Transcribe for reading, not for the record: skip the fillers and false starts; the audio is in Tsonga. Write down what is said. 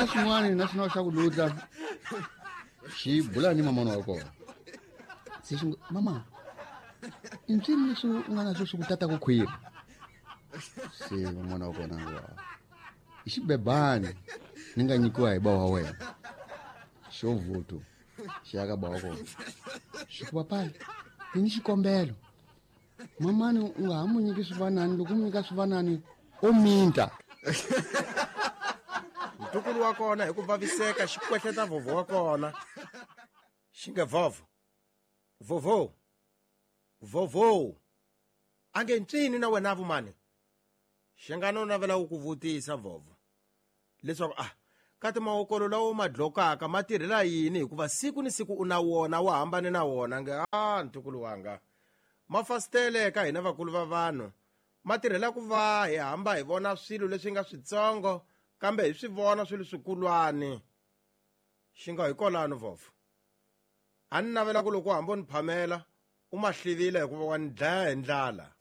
na xin'wana na xin'wana xa ku lutla xi bula ni mamana wa kona. Se xi ngo, mama, i mpyini leswi u nga na swo swi ku tata ku khwiri? Se mamana wa kona ngo, i xibebani ni nga nyikiwa hi ba wa wena. Xo vuthu xi ya ka ba wa kona. Xi ku, papayi, ni ni xikombelo. Mamani u nga ha mu nyiki swivanani, loko u mu nyika swivanani o minta. Ntukulu wa kona hi ku vaviseka xi kwehleta vhovho wa kona. Xi nge vhovho. Vhovho. Vhovho. A nge ncini na wena vumani. Xi nga no navela ku vutisa vhovho leswaku a kati mawokolo lawo ma dlokaka ma tirhela yini, hikuva siku ni siku u na wona wa hambane na wona. Nge a ntukulu wanga, mafasitele ka hina vakulu va vanhu ma tirhela ku va hi hamba hi vona swilo leswi nga switsongo, kambe hi swi vona swilo swikulwani. Xi nga hi kolano vhovho, a ni navela ku loko u hamba u ni phamela u ma hlivile, hikuva wa ni dlaya hi ndlala.